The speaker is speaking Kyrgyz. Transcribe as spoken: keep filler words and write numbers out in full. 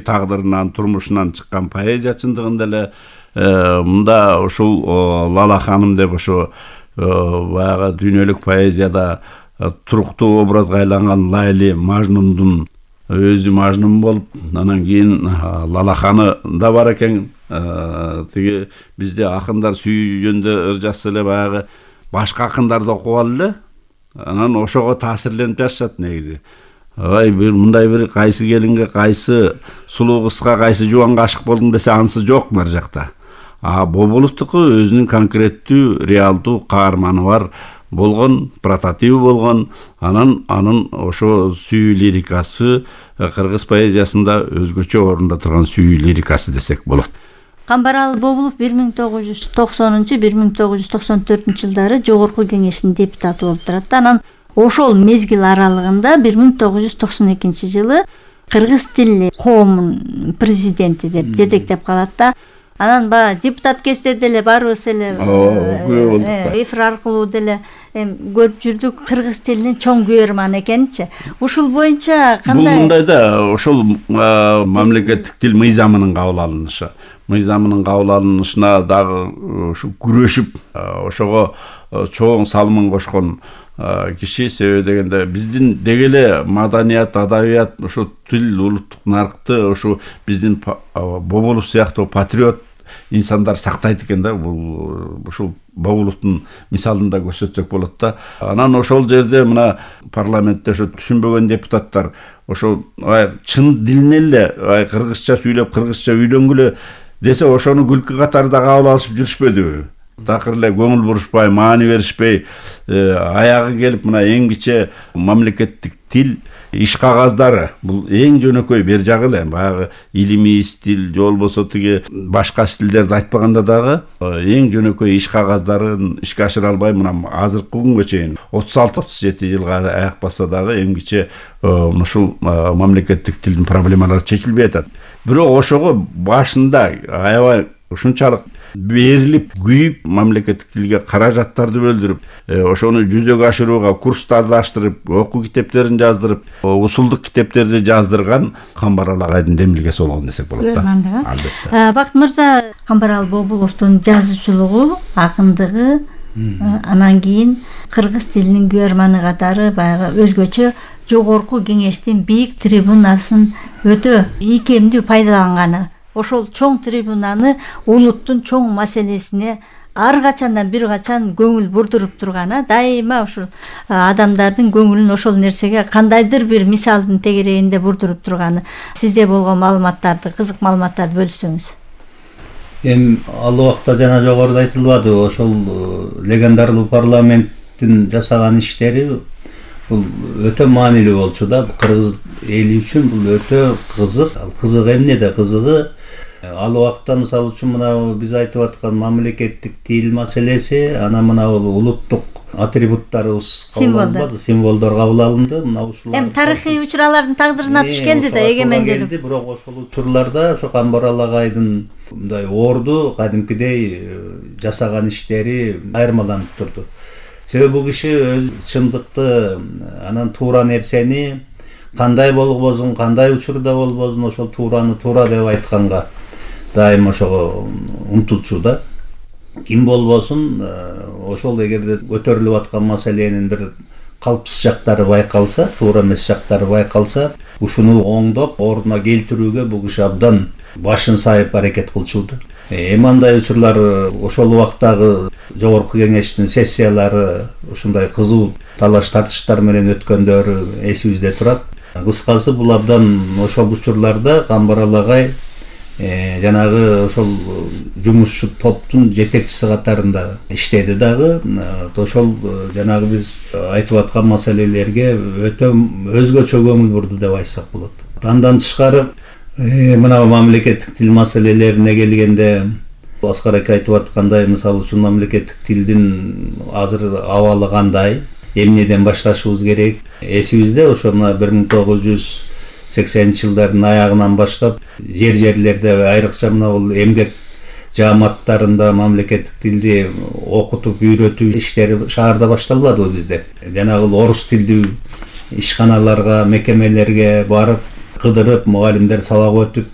тагдырынан, турмушунан чыккан поэзия чындыгында эле мында ушул Лала ханым деп ошо баягы дүйнөлүк поэзияда туруктуу образга айланган Лайли Мажнундун өзү Мажнун болуп, анан кийин Лалаханы да бар экен. Тиги бизде акындар сүйгөндө ыр жазса эле баягы башка акындарды окуп алып эле анан ошого таасирленип жазышат негизи. Ай бир мындай бир кайсы келинге, кайсы сулуу кызга, кайсы жубанга ашык болдуң десе анысы жок нар жакта. А Бобуловдуку өзүнүн конкреттүү, реалдуу каарманы бар болгон, прототип болгон, анан анын ошо сүйүү лирикасы кыргыз поэзиясында өзгөчө орунда турган сүйүү лирикасы десек болот. Камбарал Бобулов бир миң тогуз жүз токсонунчу — бир миң тогуз жүз токсон төртүнчү жылдары Жогорку Кеңештин депутаты болуп турат. Анан ошол мезгил аралыгында бир миң тогуз жүз токсон экинчи жылы кыргыз тилли коомун президенти деп жетектеп калат да. Анан ба депутат кезде деле барыбыз эле эфир аркылуу деле көрүп жүрдүк, кыргыз тилинин чоң күйөрманы экенчи. Ушул боюнча кандай? Бул мындай да, ошол мамлекеттик тил мыйзамынын кабыл алынышы. Мыйзамынын кабыл алынышына дагы ушу күрөшүп, ошого чоң салымын кошкон киши. Себеби дегенде биздин деги эле маданият, адабият, ошо тил, улуттук наркты ошо биздин Бобулов сыяктуу патриот инсандар сактайт экен да. Бул ушул Бобуловдун мисалын да көрсөтсөк болот да. Анан ошол жерде мына парламентте ошо түшүнбөгөн депутаттар ошо чын дилинен эле кыргызча сүйлөп, кыргызча үйлөнгүлө десе ошону күлкү катарында кабыл алышып жүрүшпөдүбү? Такыр эле көңүл бурушпай, маани беришпей, аягы келип мына эң кичи мамлекеттик тил иш кагаздары, бул эң жөнөкөй бер жагы эле, баягы илимий стил, же болбосо тиги башка стилдерди айтпаганда дагы эң жөнөкөй иш кагаздарын ишке ашыра албай мына азыркы күнгө чейин отуз алты отуз жети жылга аяк басса дагы эң кичи ушул мамлекеттик тилдин проблемалары чечилбей атат. Бирок ошого башында аябай ушунчалык берилип, күйүп, мамлекеттик тилге каражаттарды бөлдүрүп, ошону жүзөгө ашырууга курстарды аштырып, окуу китептерин жаздырып, усулдук китептерди жаздырган Камбарал агайдын демилгеси болгон десек болот да. Албетте. Бакыт мырза, Камбарал Бобуловдун жазуучулугу, акындыгы, анан кийин кыргыз тилинин күйөрманы катары баягы өзгөчө Жогорку Кеңештин бийик трибунасын өтө ийкемдүү пайдаланганы, ошол чоң трибунаны улуттун чоң маселесине ар качандан бир качан көңүл бурдуруп турганы, дайыма ушул адамдардын көңүлүн ошол нерсеге кандайдыр бир мисалдын тегерегинде бурдуруп турганы. Сизде болгон маалыматтарды, кызык маалыматтарды бөлүшсөңүз. Эми ал убакта жана жогоруда айтылбады, ошол легендарлуу парламенттин жасаган иштери бул өтө маанилүү болчу да. Кыргыз эли үчүн бул өтө кызык. Ал кызык эмнеде? Кызыгы ал убакта мисалы үчүн мына биз айтып аткан мамлекеттик тил маселеси, анан мына бул улуттук атрибуттарыбыз кабыл алынбады, символдор кабыл алынды. Мына ушулар эми тарыхый учурлардын тагдырына туш келди да, эгемендүүлүк. Бирок ошол учурларда ошо Камбарал агайдын мындай орду кадимкидей жасаган иштери айырмаланып турду. Себеби бул киши өз чындыкты, анан туура нерсени кандай болбосун, кандай учурда болбосун, ошол туураны туура деп айтканга дайым ошого умтулчу да. Ким болбосун, ошол эгерде көтөрүлүп аткан маселенин бир калпсыз жактары байкалса, туура эмес жактары байкалса, ушуну оңдоп, ордуна келтирүүгө бул киши абдан башын сайып аракет кылчу да. Эми андай учурлар ошол убактагы Жогорку Кеңештин сессиялары ушундай кызуу талаш тартыштар менен өткөндөрү эсибизде турат. Кыскасы бул абдан ошол учурларда Камбарал агай жанагы ошол жумушчу топтун жетекчиси катарында иштеди дагы. Ошол жанагы биз айтып аткан маселелерге өтө өзгөчө көңүл бурду деп айтсак болот. Андан тышкары мына мамлекеттик тил маселелерине келгенде Аскар ака айтып аткандай, мисалы үчүн мамлекеттик тилдин азыр абалы кандай, эмнеден башташыбыз керек? Эсибизде ошо мына бир миң тогуз жүз сексенинчи жылдардын аягынан баштап жер жерлерде айрыкча мына бул эмгек жааматтарында мамлекеттик тилди окутуп үйрөтүү иштери шаарда башталбадыбы бизде? Жанагы орус тилдүү ишканаларга, мекемелерге барып кыдырып, мугалимдер сабак өтүп,